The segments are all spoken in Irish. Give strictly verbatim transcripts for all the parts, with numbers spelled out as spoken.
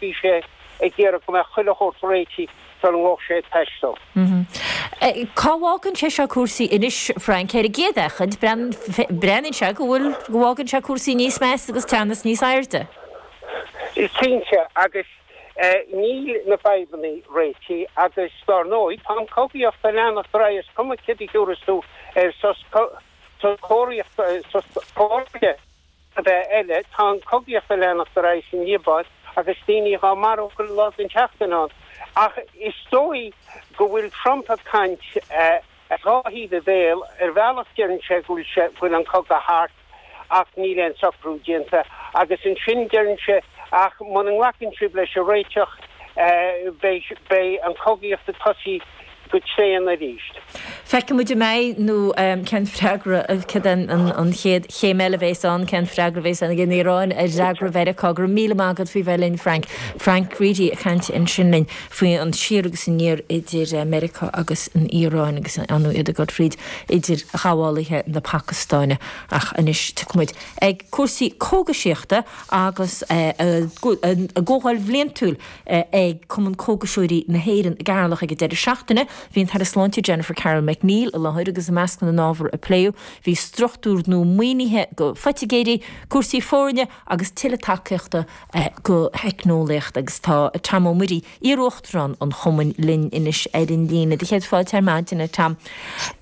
Bhí sé ag iarraidh go mbeadh chuile shórt réitithe sula ngabhfadh sé ag taisteal. Cá bhfágann sé seo cúrsaí anois, Frank? Ar an gcéad fhéachaint, breathnaíonn sé go bhfuil, go bhfágann sé cúrsaí níos measa agus teannas níos airde. Cinnte, agus níl na fadhbanna réitithe agus dar ndóigh tá an chogaíocht ag leanacht ar aghaidh, is cuma céard a thiúrfas tú ar sos cóiríochta, sos comhraicthe. a bheith eile, tá an chogaíocht ag leanacht ar aghaidh san Liobáin agus daoine dhá marú chuile lá den tseachtain ann. Ach is dóigh go bhfuil Trump ag caint as dhá thaobh a bhéil. Ar bhealach deireann sé go bhfuil sé, go bhfuil an cogadh thart ach níl aon socrú déanta agus ansin deireann sé ach muna nglacann sibh leis an réiteach beidh, beidh an chogaíocht ag tosaí go tréan arís. Feicfidh muid an mbeidh nó cén freagra, cad é an chéad chéim eile a bheas ann, cén freagra a bheas ag an Iaráin ar fhreagra Mheiriceá. Go raibh míle maith agat faoi bheith linn, Frank. Frank Reidy ag caint ansin linn faoi an siar agus aniar idir Meiriceá agus an Iaráin agus ar ndóigh iad ag dul fríd idirghabhálaithe na Pacastáine. Ach anois tiocfaidh muid ag cúrsaí cógaisíochta agus a gcomhdháil bhliantúil ag Cumann Cógaiseoirí na hÉireann i gCeatharlach ag an deireadh seachtaine. Bhí an tAire Sláinte Jennifer Carroll MacNeill i láthair agus i measc na n-ábhar a pléadh bhí struchtúr nua maoinithe go phoitigéirí, cúrsaí foirne agus tuilleadh tacaíochta go theicneolaíocht. Agus tá Tom Ó Muirí, iar-uachtarán an chumainn linn anois ar an líne. Do chéad fáilte ar maidin, a Tom.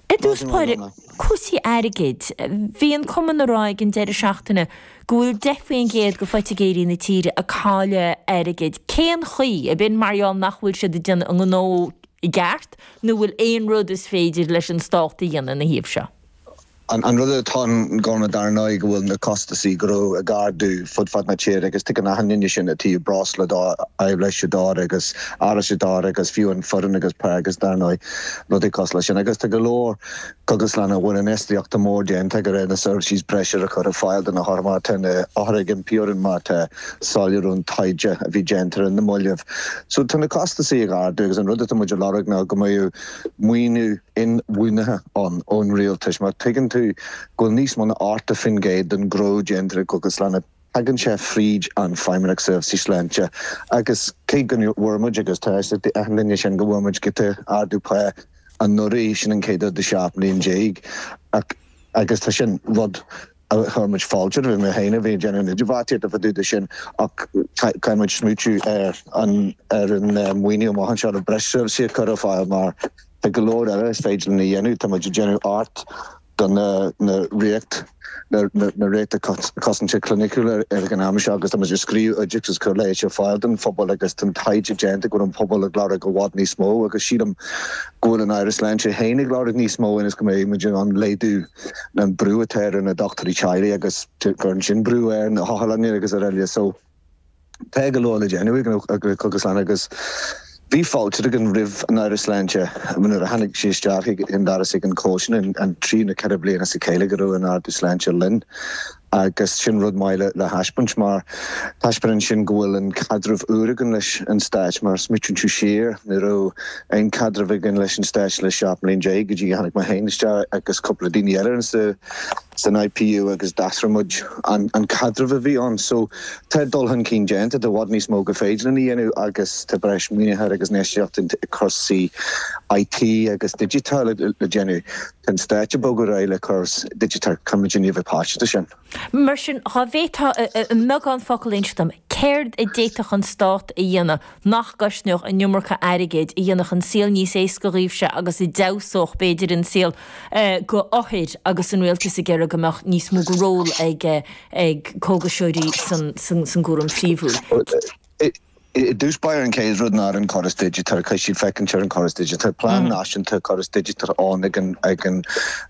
I dtús báire, cúrsaí airgid. Bhí an cumann ag rá ag an deireadh seachtaine go bhfuil deich faoin gcéad go phoitigéirí na tíre ag cailleadh airgid. Cén chaoi? Ab in mar gheall nach bhfuil siad ag déanamh a ngnó i gceart nó bhfuil aon rud is féidir leis an stát a dhéanamh ina thaobh seo? An rud atá ann Gorma dar ndóigh go bhfuil na costasaí gnó ag ardú fud fad na tíre agus tuigeann achan duine sin i dtaobh breosla dó, aibhléise dó agus árachais dó agus fiú an foireann agus pá agus dar ndóigh rudaí cosúil leis sin agus tá go leor cógaslanna a bhfuil infheistíochta mór déanta go raibh na seirbhísí breise a chur ar fáil do na hothair mar tá na hothair ag impí orainn mar tá soiléiriú an taighde a bhí déanta ar na mallaibh. So tá na costasaí ag ardú agus an rud atá muid a lorg ná go mbeadh maoiniú inbhuanaithe ann ón rialtas mar tuigeann tú go bhfuil níos mó ná ochtó faoin gcéad den ghnó déanta i gcógaslanna tagann sé fríd an Feidhmeannacht Seirbhísí Sláinte agus cé go bhfuair muid agus tá a fhios ag achan duine sin go bhfuair muid giota ardú pá anuraidh sin an chéad uair de seacht mbliain déag ach agus tá sin rud a chuir muid fáilte roimh mé féin a bhí ag déanamh an idirbheartaíocht fá dtaobh de sin ach caithfidh muid smaoitiú ar an ar an maoiniú amach anseo le breis seirbhísí a chur ar fáil mar tá go leor eile is féidir linn a dhéanamh. Tá muid ag déanamh art do na na riocht na na riochta cosanta cliniciúla ar an am seo agus tá muid ag scríobh oideachas agus cur leighis ar fáil don phobal agus tá an taighde déanta go bhfuil an pobal ag lorg i bhfad níos mó agus sílim go bhfuil an Aire Sláinte féin ag lorg níos mó ionas go mbeidh muid in ann laghdú an brú atá ar na dochtúirí teaghlaigh agus cuireann sin brú ar na hotharlanna agus araile so tá go leor le déanamh ag na cógaslanna agus bhí fáilte againn roimh an Aire Sláinte nuair a tháinig sí isteach ag an doras ag an comhshin an trí nó ceithre bliana as a chéile go raibh an ardú sláinte linn agus sin rud maith le le thaispeáint mar taispeánann sin go bhfuil an caidreamh úr againn leis an stáit mar smaoitíonn tú siar ní raibh aon caidreamh againn leis an stáit le seacht mbliain déag go dtí go tháinig mé féin isteach agus cúpla daoine eile sa san IPU agus d'athraigh muid an an caidreamh a bhí ann. So tá dul chun cinn déanta, tá i bhfad níos mó go féidir linn a dhéanamh agus tá breis maoinithe agus infheistíocht i cúrsaí IT agus digiteáil le déanamh. Tá an stáit ag bogadh ar aghaidh le córas digiteach, caithfidh muid a bheith páirteach de sin. Mar sin, dhá bhféadfá i mbeagán focal a inse dom, céard a d'fhéadfadh an stát a dhéanamh nach gcosnódh an iomarca airgid, a dhéanfadh an saol níos éasca dhaoibhse agus a d'fheabhsódh, b'fhéidir, an saol go othair agus an rialtas ag iarraidh go mbeadh níos mó de ról ag ag cógaiseoirí san san gcúram príomhúil? I dtús báire an chéad rud ná an córas digiteach, caithfidh siad féachaint ar an chóras digiteach. Tá plean náisiúnta córas digiteach ann ag an ag an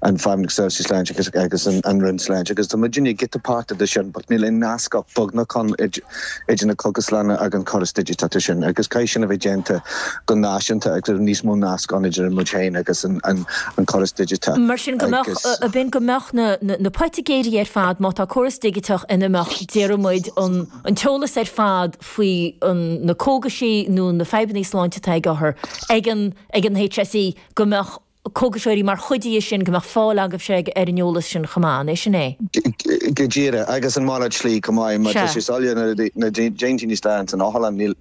an Feidhmeannacht Seirbhísí Sláinte agus agus an an Roinn Sláinte agus tá muidinne giota páirteach de sin but níl aon nasc ach beagnach ann idir na cógaslanna agus an córas digiteach sin agus caithfidh sin a bheith déanta go náisiúnta agus níos mó nasc ann idir muid féin agus an an an córas digiteach. Mar sin go mbeadh Agus. b'in go mbeadh na na poitigéirí ar fad má tá córas digiteach ina mbeadh déarfaidh muid an an t-eolas ar fad faoi na cógaisí nó na fadhbanna sláinte atá ag othar ag an ag an HSE go mbeadh cógaiseoirí mar chuid dhe sin go mbeadh fáil agaibhse ar an eolas sin chomh maith, an é sin é? Go díreach agus an malairt slí chomh maith, mar tá sé soiléir na déantaí níos leathan san otharlann níl